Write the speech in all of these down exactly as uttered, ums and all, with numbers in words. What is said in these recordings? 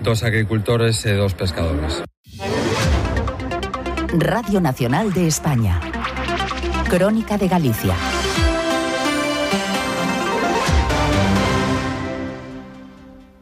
dos agricultores e dos pescadores. Radio Nacional de España. Crónica de Galicia.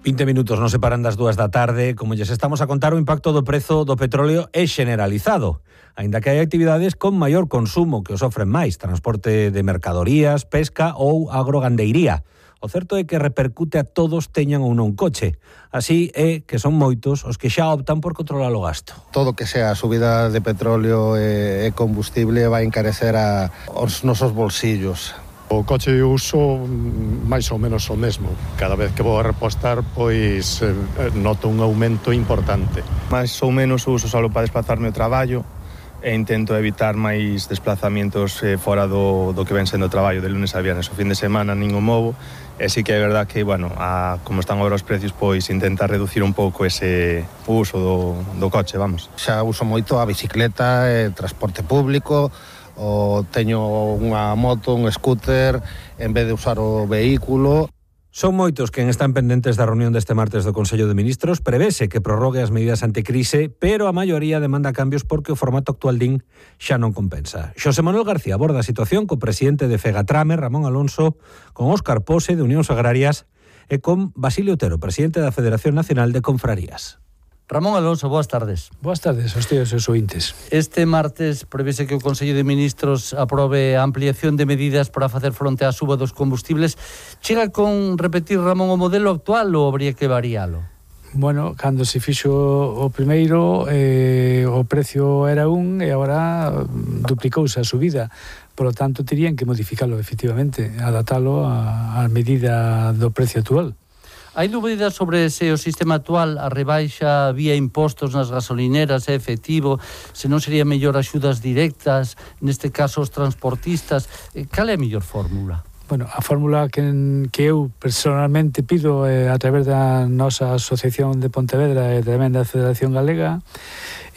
vinte minutos non separan das dúas da tarde. Como lles estamos a contar, o impacto do prezo do petróleo é generalizado, aínda que hai actividades con maior consumo que o sofren máis: transporte de mercadorías, pesca ou agrogandeiría. O certo é que repercute a todos teñan ou non coche. Así é que son moitos os que xa optan por controlar o gasto. Todo que sea a subida de petróleo e combustible vai encarecer a os nosos bolsillos. O coche de uso máis ou menos o mesmo. Cada vez que vou a repostar, pois eh, noto un aumento importante. Mais ou menos o uso só para desplazarme ao traballo e intento evitar máis desplazamientos eh, fora do, do que ven sendo o traballo de lunes a viernes. O fin de semana nin o movo, e sí que é verdad que, bueno, a, como están agora os precios, pois intenta reducir un pouco ese uso do, do coche, vamos. Xa uso moito a bicicleta, e transporte público, ou teño unha moto, un scooter, en vez de usar o vehículo. Son moitos quen están pendentes da reunión deste martes do Consello de Ministros. Prevese que prorrogue as medidas anticrise, pero a maioría demanda cambios porque o formato actual din xa non compensa. Xosé Manuel García aborda a situación co presidente de Fegatrame, Ramón Alonso, con Óscar Pose, de Unións Agrarias, e con Basilio Otero, presidente da Federación Nacional de Confrarías. Ramón Alonso, boas tardes. Boas tardes aos tíos e aos ointes. Este martes prevese que o Consello de Ministros aprobe a ampliación de medidas para facer fronte á suba dos combustibles. Chega con repetir, Ramón, o modelo actual ou habría que varialo? Bueno, cando se fixo o primeiro, eh, o precio era un e agora duplicouse a subida. Por lo tanto, terían que modificalo, efectivamente, adaptalo á medida do precio actual. Hai dúbidas sobre se o sistema actual, a rebaixa vía impostos nas gasolineras é efectivo, se non sería mellor axudas directas, neste caso os transportistas. Cal é a mellor fórmula? Bueno, a fórmula que, que eu personalmente pido eh, a través da nosa Asociación de Pontevedra e tamén da Federación Galega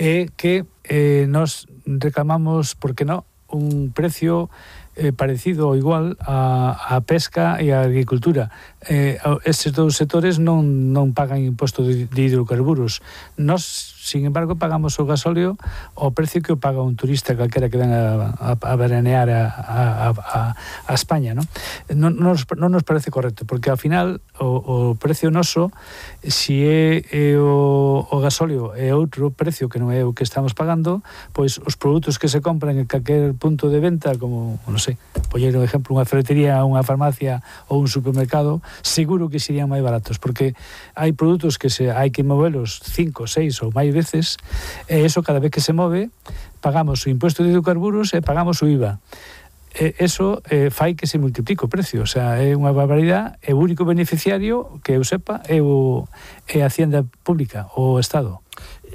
é que eh, nos reclamamos, por que non, un precio eh, parecido ou igual a, a pesca e a agricultura. Eh, estes dous sectores non, non pagan imposto de, de hidrocarburos. Nós, sin embargo, pagamos o gasóleo ao precio que o paga un turista calquera que ven a, a, a veranear a, a, a, a España, non? Non, non, nos, non nos parece correcto, porque ao final o, o precio noso, si é, é o, o gasóleo é outro precio que non é o que estamos pagando, pois os produtos que se compran en calquer punto de venta, como, non sei, poñer un exemplo, unha ferretería, unha farmacia ou un supermercado, seguro que serían máis baratos, porque hai produtos que se hai que movelos cinco, seis ou máis veces, e eso cada vez que se move pagamos o imposto de hidrocarburos e pagamos o I V A. E eso eh, fai que se multiplique o precio, o sea, é unha barbaridade, e o único beneficiario que eu sepa é, o, é a Hacienda Pública, o Estado.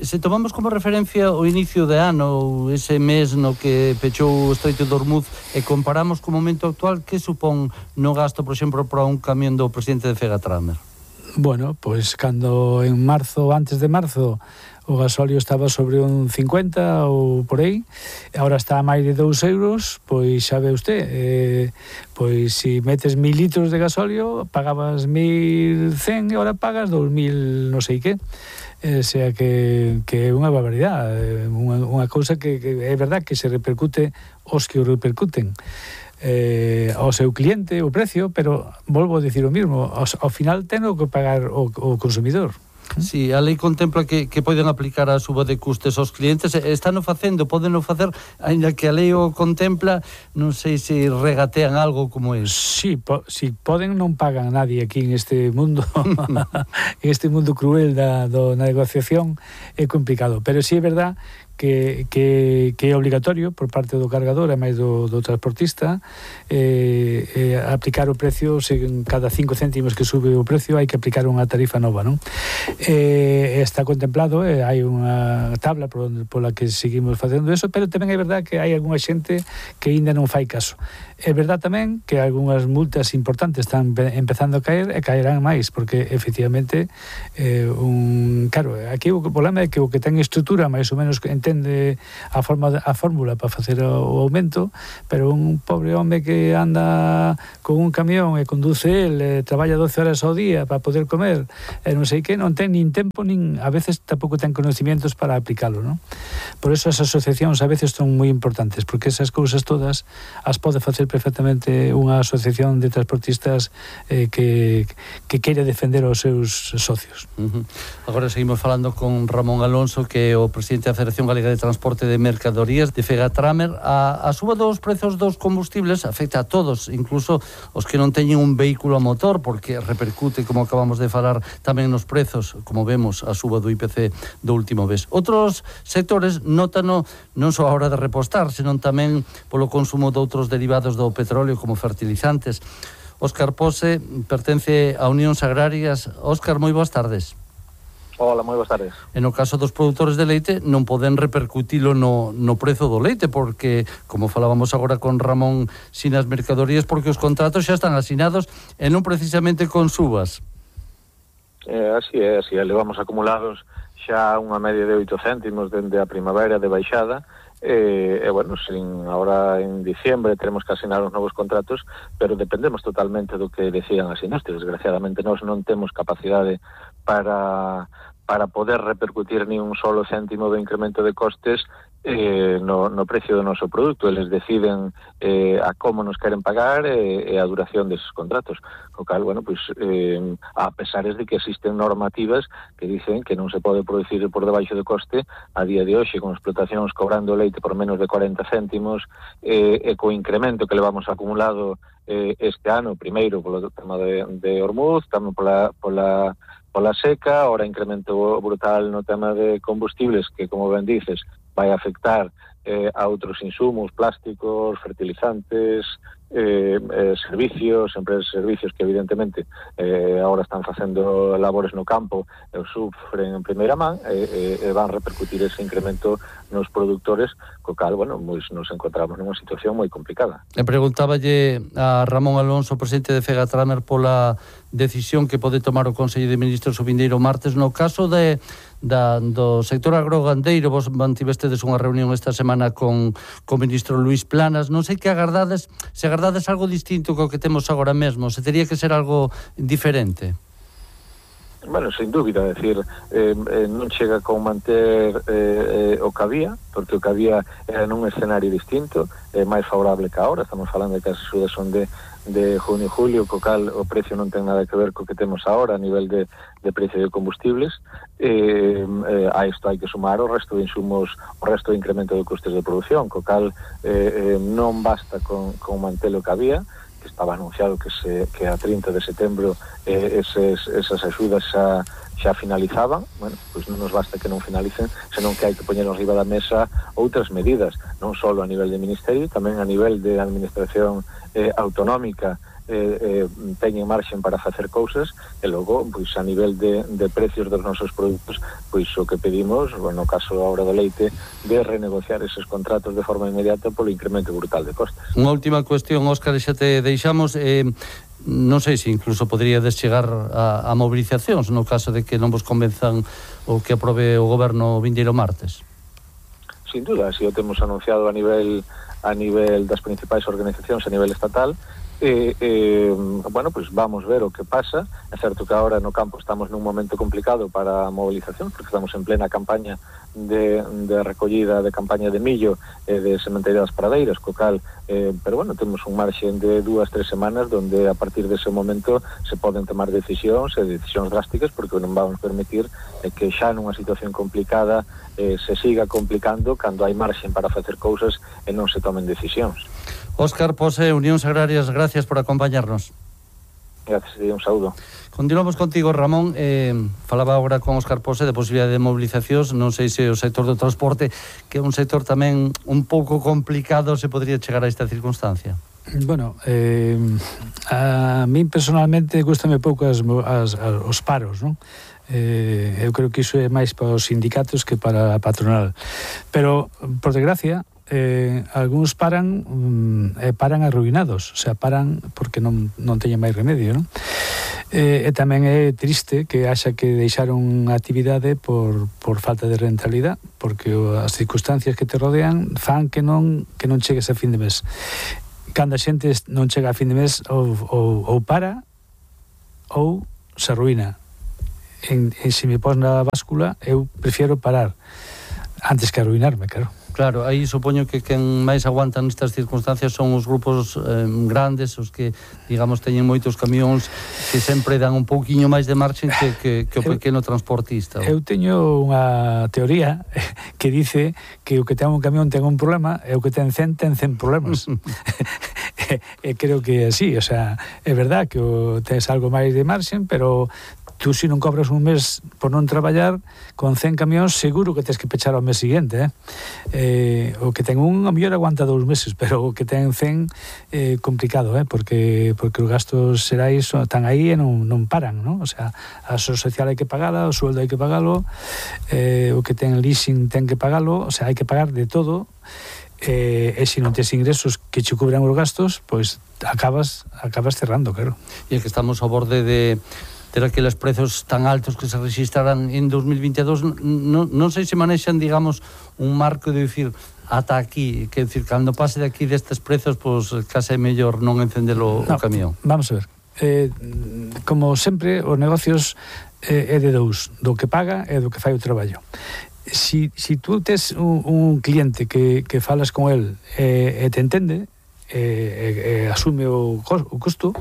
Se tomamos como referencia o inicio de ano, ese mes no que pechou o Estreito de Hormuz, e comparamos co momento actual, que supón no gasto, por exemplo, para un camión do presidente de Fegatrame? Bueno, pois cando en marzo, antes de marzo, o gasóleo estaba sobre un cincuenta ou por aí, agora está a máis de dous euros, pois xa ve usted, eh, pois se metes mil litros de gasóleo, pagabas mil cen e agora pagas dous mil non sei que. O sea que, que é unha barbaridade, unha, unha cousa que, que é verdad que se repercute os que o repercuten eh, ao seu cliente, o precio, pero volvo a dicir o mismo, ao, ao final ten que pagar o, o consumidor. Si, a lei contempla que, que poden aplicar a suba de custes aos clientes, están o facendo, poden o facer, ainda que a lei o contempla, non sei se regatean algo como é. Si, po, si poden, non pagan a nadie aquí en este mundo, en este mundo cruel da, do, na negociación, é complicado, pero si é verdad que, que, que é obligatorio por parte do cargador e máis do, do transportista eh, eh, aplicar o precio, se cada cinco céntimos que sube o precio hai que aplicar unha tarifa nova, non? Eh, está contemplado, eh, hai unha tabla por onde, pola que seguimos facendo eso, pero tamén é verdad que hai algunha xente que ainda non fai caso. É verdad tamén que algunhas multas importantes están empezando a caer e caerán máis, porque efectivamente eh, un claro, aquí o problema é que o que ten estrutura máis ou menos entende a forma de, a fórmula para facer o, o aumento, pero un pobre home que anda con un camión e conduce el, e traballa doce horas ao día para poder comer, e non sei que, non ten nin tempo, nin a veces tampouco ten conocimientos para aplicalo, non? Por eso as asociacións a veces son moi importantes, porque esas cousas todas as pode facer perfectamente unha asociación de transportistas eh, que, que queire defender os seus socios. Uh-huh. Agora seguimos falando con Ramón Alonso, que é o presidente da Federación Galega de Transporte de Mercadorías de Fegatramer. A, a suba dos prezos dos combustibles afecta a todos, incluso os que non teñen un vehículo a motor, porque repercute, como acabamos de falar, tamén nos prezos, como vemos, a suba do I P C do último mes. Outros sectores nótano non só a hora de repostar, senón tamén polo consumo de outros derivados do petróleo, como fertilizantes. Óscar Pose pertence a Unións Agrarias. Óscar, moi boas tardes. Hola, moi boas tardes. E no caso dos produtores de leite non poden repercutilo no, no prezo do leite, porque, como falábamos agora con Ramón, sin as mercadorías, porque os contratos xa están asinados e non precisamente con subas. Eh, así é, así é. Levamos acumulados xa unha media de oito céntimos dende a primavera de baixada. E, e bueno, sin, ahora en diciembre teremos que asinar os novos contratos, pero dependemos totalmente do que decidan as industrias. Desgraciadamente nós non temos capacidade para, para poder repercutir ni un solo céntimo de incremento de costes eh, no, no precio do noso produto. Eles deciden eh, a como nos queren pagar e, e a duración deses contratos. O cal, bueno, pues, eh, a pesares de que existen normativas que dicen que non se pode producir por debaixo de coste, a día de hoxe, con explotacións cobrando leite por menos de cuarenta céntimos, eh, e co incremento que levamos acumulado eh, este ano, primeiro polo tema de, de Ormuz, tamén pola, pola, pola seca, ahora incremento brutal no tema de combustibles, que, como ben dices, vai afectar eh, a outros insumos, plásticos, fertilizantes, eh, eh, servicios, empresas de servicios que evidentemente eh, agora están facendo labores no campo e o sufren en primeira man e eh, eh, van repercutir ese incremento nos produtores, co cal, bueno, pues nos encontramos nunha situación moi complicada. E preguntáballe a Ramón Alonso, presidente de Fegatramer, pola decisión que pode tomar o Consello de Ministros o vindeiro martes no caso de da, do sector agrogandeiro. Vos mantivestedes unha reunión esta semana con o ministro Luís Planas. Non sei que agardades, se agardades algo distinto co que temos agora mesmo, se tería que ser algo diferente. Bueno, sin dúbida, é dicir, eh, eh, non chega con manter eh, eh, o que había, porque o que había era nun escenario distinto, eh, máis favorable que ahora. Estamos falando de que as axudas son de, de junio e julio, co cal o precio non ten nada que ver co que temos ahora a nivel de, de precio de combustibles. Eh, eh, a isto hai que sumar o resto de insumos, o resto de incremento de costes de produción, co cal eh, eh, non basta con, con manter o que había, que estaba anunciado que se que a trinta de setembro eh, eses, esas axudas xa, xa finalizaban. Bueno, pois non nos basta que non finalicen, senón que hai que poñer arriba da mesa outras medidas, non só a nivel de ministerio, tamén a nivel de administración eh, autonómica, eh, eh, teñen marxen para facer cousas, e logo, pois a nivel de, de precios dos nosos produtos, pois o que pedimos, bueno, no caso agora do leite, de renegociar eses contratos de forma inmediata polo incremento brutal de costes. Unha última cuestión, Óscar, xa te deixamos, eh, non sei se incluso poderíades chegar a, a mobilizacións no caso de que non vos convenzan o que aprobe o goberno vindeiro martes. Sin duda, así o temos anunciado a nivel a nivel das principais organizacións a nivel estatal. Eh, eh, bueno, pues vamos ver o que pasa. É certo que agora no campo estamos nun momento complicado para a movilización, porque estamos en plena campaña de, de recollida de campaña de millo e eh, de sementería das pradeiras, co cal, eh, pero bueno, temos un marxen de dúas, tres semanas donde a partir dese momento se poden tomar decisións e decisións drásticas, porque non vamos permitir eh, que xa nunha situación complicada eh, se siga complicando cando hai marxen para facer cousas e non se tomen decisións. Óscar Pose, Unións Agrarias, gracias por acompañarnos. Gracias, un saúdo. Continuamos contigo, Ramón. Eh, falaba agora con Óscar Pose de posibilidade de mobilizacións. Non sei se o sector do transporte, que é un sector tamén un pouco complicado, se podría chegar a esta circunstancia. Bueno, eh, a min personalmente gustame pouco as, as, as, os paros, non? Eh, eu creo que iso é máis para os sindicatos que para a patronal. Pero, por desgracia, eh, algúns paran um, eh, paran arruinados, o sea, paran porque non, non teñen máis remedio, non? E, e tamén é triste que haxa que deixar unha actividade por, por falta de rentabilidade, porque as circunstancias que te rodean fan que non que non chegues a fin de mes. Cando a xente non chega a fin de mes ou, ou, ou para ou se arruína. En, en se me pos na báscula, eu prefiero parar antes que arruinarme, claro. Claro, aí supoño que quen máis aguantan nestas circunstancias son os grupos eh, grandes, os que, digamos, teñen moitos camións que sempre dan un pouquiño máis de marxen que, que, que o pequeno transportista. Eu teño unha teoría que dice que o que ten un camión ten un problema e o que ten cen ten cen problemas. e, e creo que é así, o sea, é verdad que o, tens algo máis de marxen, pero tú se non cobras un mes por non traballar con cen camións, seguro que tens que pechar ao mes seguinte, eh? Eh, o que ten un, a mellor aguanta dous meses, pero o que ten cen é eh, complicado, eh? porque porque os gastos xerais están aí e non, non paran, non? O sea, a aso social hai que pagala, o sueldo hai que pagalo, eh, o que ten leasing ten que pagalo, o sea, hai que pagar de todo. Eh, e se non tes ingresos que che cubran os gastos, pois acabas acabas cerrando, claro. E que estamos ao borde de ter aqueles prezos tan altos que se registraran en dos mil veintidós, non, non sei se manexan, digamos, un marco de dicir ata aquí, que decir, cando pase de aquí destes prezos, pois case é mellor non encendelo no, o camión. Vamos a ver, eh, como sempre, os negocios eh, é de dous, do que paga e do que fai o traballo. Si, si tú tes un, un cliente que, que falas con el e eh, te entende, e eh, eh, asume o, o custo,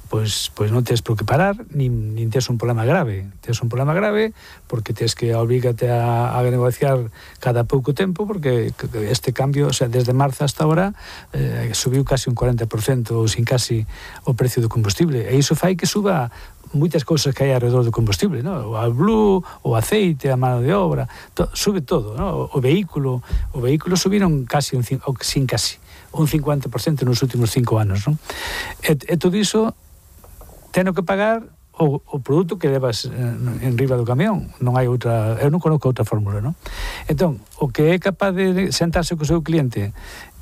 pois, pois non tes por que parar, nin, nin tes un problema grave. Tes un problema grave porque tes que obrígate a, a negociar cada pouco tempo, porque este cambio, o sea, desde marzo hasta ahora, eh, subiu casi un cuarenta por cento, ou sin casi, o precio do combustible. E iso fai que suba moitas cousas que hai alrededor do combustible, ¿no? O blue, o aceite, a mano de obra, to, sube todo, ¿no? O, o vehículo, o vehículo subiron casi, un, o sin casi, un cincuenta por cento nos últimos cinco anos, ¿no? E, e todo iso teno que pagar o, o produto que levas en, en riba do camión. Non hai outra, eu non conozco outra fórmula, non? Entón, o que é capaz de sentarse co seu cliente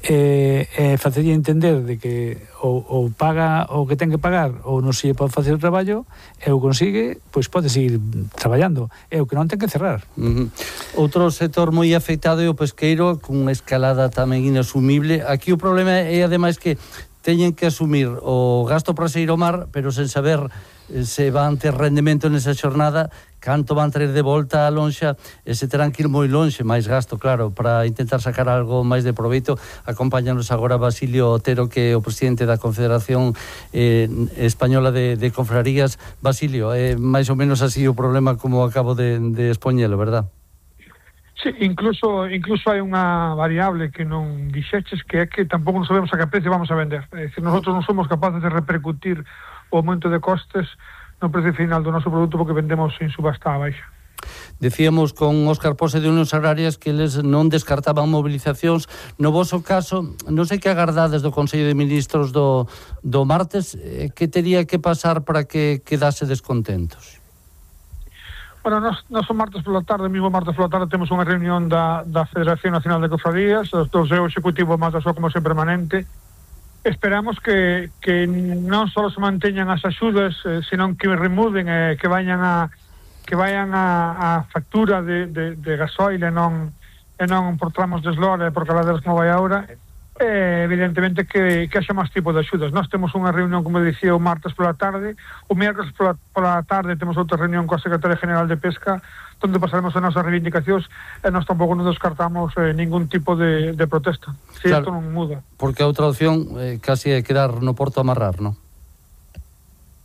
e, e facerlle entender de que ou, ou paga o que ten que pagar ou non se pode facer o traballo e o consigue, pois pode seguir traballando. É o que non ten que cerrar. Uh-huh. Outro sector moi afectado é o pesqueiro, cunha escalada tamén inasumible. Aquí o problema é, ademais, que teñen que asumir o gasto para sair ao mar, pero sen saber se van ter rendemento nesa xornada, canto van traer de volta a lonxa, e se terán que ir moi lonxe, máis gasto, claro, para intentar sacar algo máis de proveito. Acompáñanos agora Basilio Otero, que é o presidente da Confederación eh, Española de, de Confrarías. Basilio, é eh, máis ou menos así o problema como acabo de, de expoñelo, verdad? Sí, incluso incluso hai unha variable que non dixeches, que é que tampouco non sabemos a que precio vamos a vender. É dicir, nosotros non somos capaces de repercutir o aumento de costes no precio final do noso produto porque vendemos en subasta a baixa. Decíamos con Óscar Pose de Unións Agrarias que eles non descartaban mobilizacións. No voso caso, non sei que agardades do Consello de Ministros do, do martes, eh, que tería que pasar para que quedase descontentos? Bueno, nos, nos o martes pola tarde, mismo martes pola tarde, temos unha reunión da, da Federación Nacional de Cofradías, os dos é o executivo máis da súa comisión permanente. Esperamos que, que non só se manteñan as axudas, eh, senón que remuden e eh, que vayan a que vayan a, a factura de, de, de gasoil e non, e non por tramos de eslora e por caladeras como vai agora. Eh, evidentemente que, que haxa máis tipo de axudas. Nós temos unha reunión, como dicía, o martes pola tarde, o miércoles pola, pola tarde temos outra reunión coa Secretaria General de Pesca, onde pasaremos as nosas reivindicacións e nós tampouco non descartamos eh, ningún tipo de, de protesta, se claro, isto non muda. Porque a outra opción eh, casi é quedar no porto amarrar, non?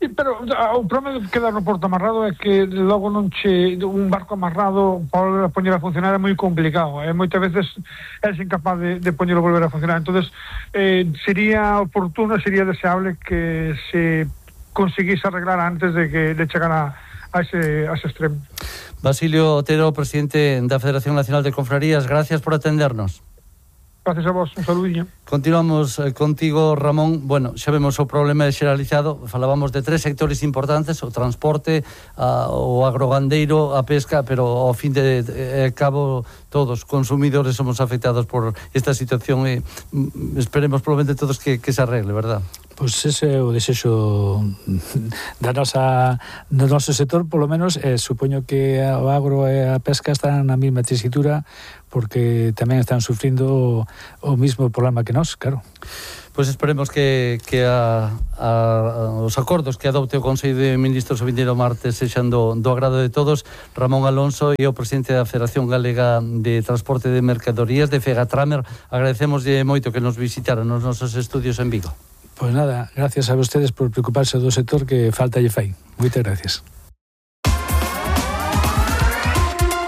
Sí, pero o problema de quedar no porto amarrado é que logo non che un barco amarrado para poñer a funcionar é moi complicado, e moitas veces é incapaz de, de poñerlo volver a funcionar. Entonces eh, sería oportuno, sería deseable que se conseguise arreglar antes de que de chegar a, a, ese, a ese extremo. Basilio Otero, presidente da Federación Nacional de Confrarías, gracias por atendernos. Gracias a vos, un saludinho. Continuamos eh, contigo, Ramón. Bueno, xa vemos o problema xeralizado. Falábamos de tres sectores importantes: o transporte, a, o agrogandeiro, a pesca, pero ao fin de, de, de cabo todos, consumidores, somos afectados por esta situación e esperemos probablemente todos que, que se arregle, verdad? Pois ese é o desexo da nosa, do noso sector, polo menos, eh, supoño que o agro e a pesca están na mesma tesitura, porque tamén están sufrindo o mismo problema que nós, claro. Pois esperemos que, que a, a, os acordos que adopte o Consello de Ministros o vindeiro martes sexan do, do agrado de todos. Ramón Alonso e o presidente da Federación Galega de Transporte de Mercadorías, de Fegatramer, agradecemoslle moito que nos visitaran nos nosos estudios en Vigo. Pois nada, gracias a vostedes por preocuparse do sector que falta lle fai. Moitas gracias.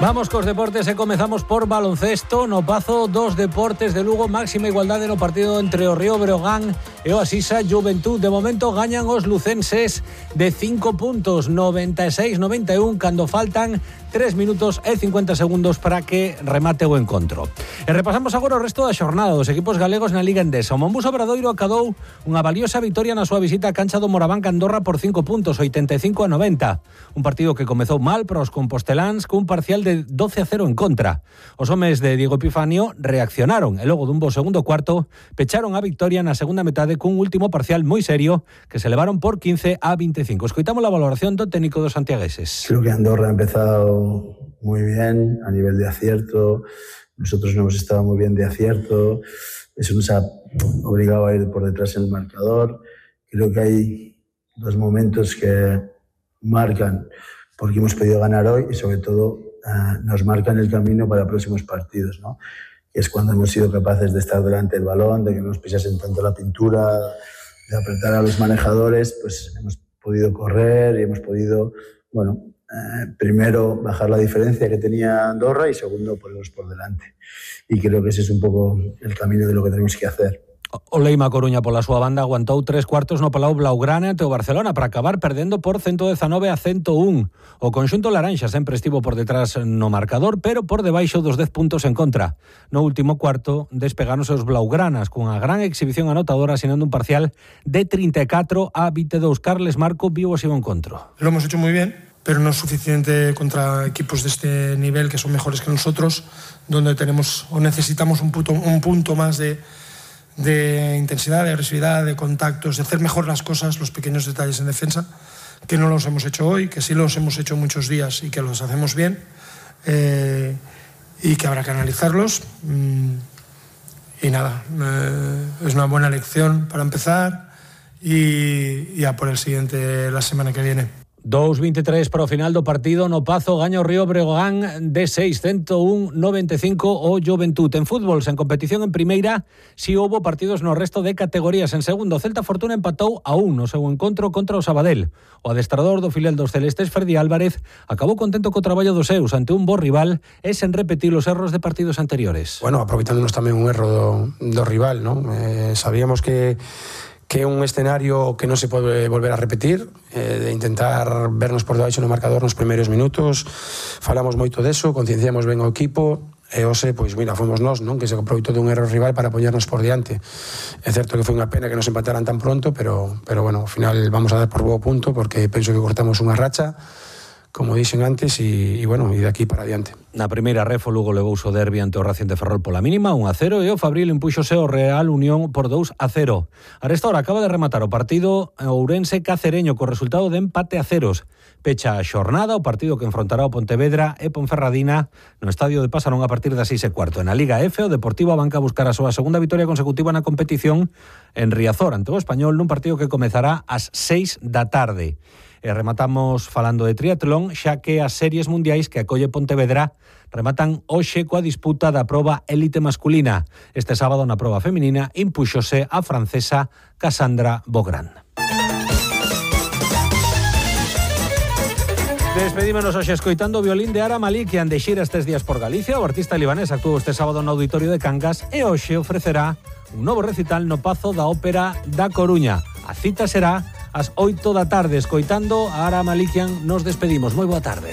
Vamos cos deportes e comezamos por baloncesto. No Pazo dos Deportes de Lugo, máxima igualdade no partido entre o Río Breogán e o Asisa Juventud. De momento gañan os lucenses de cinco puntos, noventa e seis noventa e un, cando faltan tres minutos e cincuenta segundos para que remate o encontro. E repasamos agora o resto da xornada dos equipos galegos na Liga Endesa. O Monbus Obradoiro acadou unha valiosa vitoria na súa visita á cancha do Moraván Andorra por cinco puntos, oitenta e cinco a noventa. Un partido que comezou mal para os composteláns cun parcial de doce a cero en contra. Os homes de Diego Epifanio reaccionaron e logo dun bo segundo cuarto pecharon a victoria na segunda metade cun último parcial moi serio que se levaron por quince a veinticinco. Escoitamos a valoración do técnico dos santiagueses. Creo que Andorra ha empezado muy bien a nivel de acierto. Nosotros no hemos estado muy bien de acierto. Eso nos ha obligado a ir por detrás en el marcador. Creo que hay dos momentos que marcan porque hemos podido ganar hoy y sobre todo uh, nos marcan el camino para próximos partidos, ¿no? Que es cuando hemos sido capaces de estar delante del balón, de que no nos pisasen tanto la pintura, de apretar a los manejadores, pues hemos podido correr y hemos podido, bueno, eh, primero bajar la diferencia que tenía Andorra y segundo ponerlos por delante. Y creo que ese es un poco el camino de lo que tenemos que hacer. O Leima Coruña pola súa banda aguantou tres cuartos no Palau Blaugrana ante o Barcelona para acabar perdendo por ciento dezanove a ciento un. O conxunto laranxa sempre estivo por detrás no marcador, pero por debaixo dos dez puntos en contra. No último cuarto despegáronse os Blaugranas cunha gran exhibición anotadora asinando un parcial de treinta e catro a veintidós. Carles Marco viu así o encontro. Lo hemos hecho muy bien, pero no es suficiente contra equipos de este nivel que son mejores que nosotros, donde tenemos o necesitamos un punto, un punto más de de intensidad, de agresividad, de contactos, de hacer mejor las cosas, los pequeños detalles en defensa, que no los hemos hecho hoy, que sí los hemos hecho muchos días y que los hacemos bien, eh, y que habrá que analizarlos. Y nada, eh, es una buena lección para empezar y ya por el siguiente la semana que viene. dos veintitrés para o final do partido. No Pazo gaña o Río Breogán de seis, ciento un a noventa e cinco o Juventud. En fútbol, sen competición en primeira, si houbo partidos no resto de categorías. En segundo, Celta Fortuna empatou a un no seu encontro contra o Sabadell. O adestrador do filial dos celestes, Ferdi Álvarez, acabou contento co traballo dos seus ante un bo rival e sen repetir os erros de partidos anteriores. Bueno, aproveitándonos tamén un erro do, do rival, ¿no? Eh, sabíamos que que é un escenario que non se pode volver a repetir, eh, de intentar vernos por debaixo no marcador nos primeiros minutos. Falamos moito deso, concienciamos ben o equipo, e hoxe, pois mira, fomos nós, non, que se aproveitou dun erro rival para poñernos por diante. É certo que foi unha pena que nos empataran tan pronto, pero, pero bueno, ao final vamos a dar por bo punto, porque penso que cortamos unha racha, como dixen antes, e, e bueno, e de aquí para adiante. Na primeira ref, o Lugo levou o derbi ante o Racing de Ferrol pola mínima, un a cero, e o Fabril impúxose o Real Unión por dous a cero. A esta hora acaba de rematar o partido Ourense Cacereño co resultado de empate a ceros. Pecha a xornada o partido que enfrontará o Pontevedra e Ponferradina no estadio de Pasarón a partir das seis e cuarto. En a Liga F, o Deportivo abanca a buscar a súa segunda vitoria consecutiva na competición en Riazor ante o Español nun partido que comezará ás seis da tarde. E rematamos falando de triatlón, xa que as series mundiais que acolle Pontevedra rematan hoxe coa disputa da proba élite masculina. Este sábado na proba feminina impúxose a francesa Cassandra Bogrand. Despedímonos hoxe escoitando o violín de Ara Malikian de xira estes días por Galicia. O artista libanés actuou este sábado no Auditorio de Cangas e hoxe ofrecerá un novo recital no Pazo da Ópera da Coruña. A cita será ás oito da tarde. Escoitando a Ara Malikian nos despedimos. Moi boa tarde.